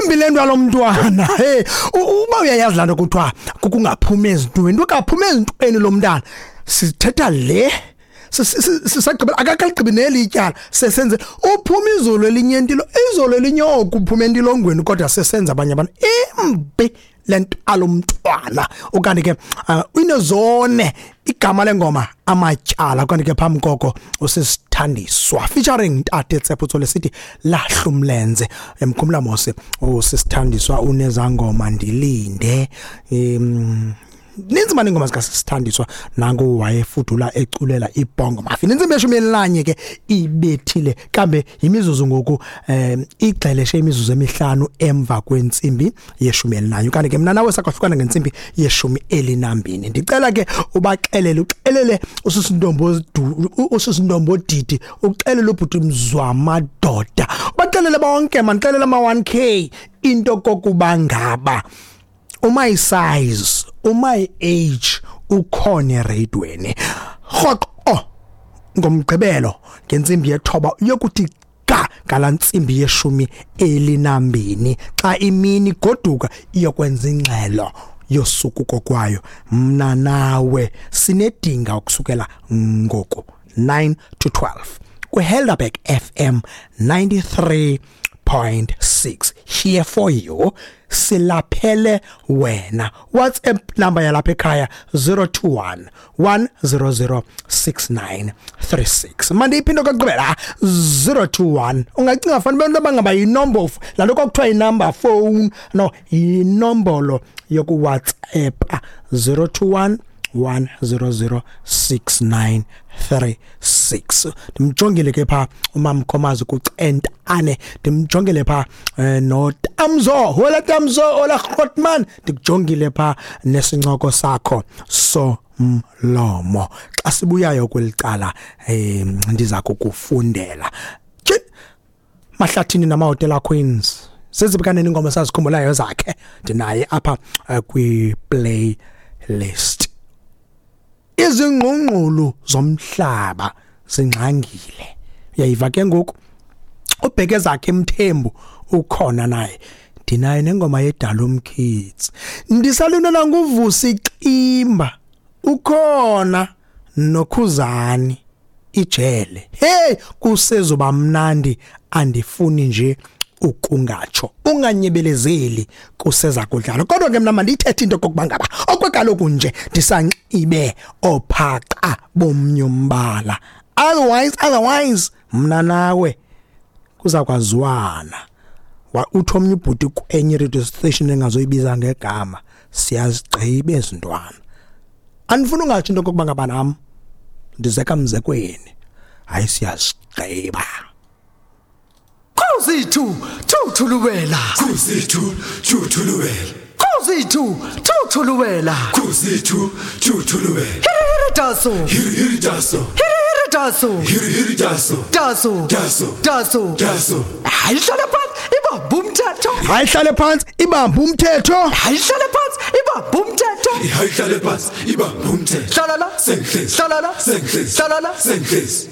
Imbi le nto lomntwana. Hey, uba uyayazi laa nto kuthiwa kukungaphumi ezintweni, ukaphuma ezintweni lo mntana. Sithetha le sisagqibela akakaligqibi neli ityala sesenze uphuma izolo elinye entilo izolo elinye oku uphuma entilongweni kodwa sesenza abanye abantu imbi le nto alomntwana. Ukanti ke inezone igama lengoma amatyala. Kanti ke phambi koko usisithandiswa featuring Ntate Tshepo lesithi lahlumlenze emkhumla mose usisithandiswa unezangoma ndilinde. Ninzi mani ingoma zikasisithandiswa nangu wayefudula eculela ibhongo mafi. Nintsimbi ye-11 ke ibethile kambe yimizuzu ngoku igxeleshe imizuzu emihlanu emva kwentsimbi ye-11. Kanti ke mna nawe sakwahlukana ngentsimbi ye-12. Ndicela ke ubaxelele, uxelele usisintombo didi, uxelele ubhuti Mzwamadoda, ubaxelele bonke manixelele ama 1K into kokuba ngaba uma size uma age ukhona eradweni rhoqo ngomgqibelo ngentsimbi ye-9 yokuthi ga ngala ntsimbi ye-12 xa imini goduka iyokwenza ingxelo yosuku kokwayo. Mna nawe sinedinga ukusukela ngoku 9 to 12 kwiHelderberg FM 93.6 here for you, silaphele wena. WhatsApp number yalapha ekhaya 021 100 6936. Manje iphinde kokugqibela 021. Ungacinga fanele abantu abangaba yinombolo laa nto kwakuthiwa yinumber phone, no, yinombolo yoku WhatsApp 021 100 6936. Ndimjongile ke pha uMamkhomazi kuCentane, ndimjongile pha noTamzo, hola Tamzo, hola Grootman, ndikujongile pha nesincoko sakho somlomo. Xa sibuyayo kwelicala ndiza kukufundela Mahlathini namahotela Queens sezibukaneni ingoma sazikhumbulayo zakhe. Ndinaye apha kwi playlist. Izingqungqulu zomhlaba zingxangile. Uyayiva ke ngoku ubheke zakhe Mthembu ukhona naye. Ndinaye nengoma yeDalum Kids. Ndisalunela nguVusi Ximba ukhona noKhuzani ijele. Hey, kusezoba mnandi, andifuni nje ukungatsho. Unganyebelezeli kuseza kudlala. Kodwa ke mina mandithethe into kokuba ngaba okwekaloku nje ndisanxibe ophaqa bomnyombala. Otherwise mna nawe kuza kwazwana. Uthi omnye ubhuti kwenye radio station engazoyibiza ngegama, siyazigqiba ezintwana. Andifuni ungatsho into kokuba ngaba nam ndizeka mzekweni. Hayi, siyazigqiba. Khuzi thuthuluwela. Khuzi thuthuluwela. Khuzi thuthuluwela. Khuzi thuthuluwela. Hiri daso. Hiri daso. Hiri daso. Hiri daso. Daso. Daso. Daso. Daso. Hayi hlala phansi ibamba umthetho. Hayi hlale phansi ibamba umthetho. Hayi hlale phansi ibamba umthetho. Hayi hlale phansi ibamba umthetho. Hlala la. Sengihlezi. Hlala la. Sengihlezi. Hlala la. Sengihlezi.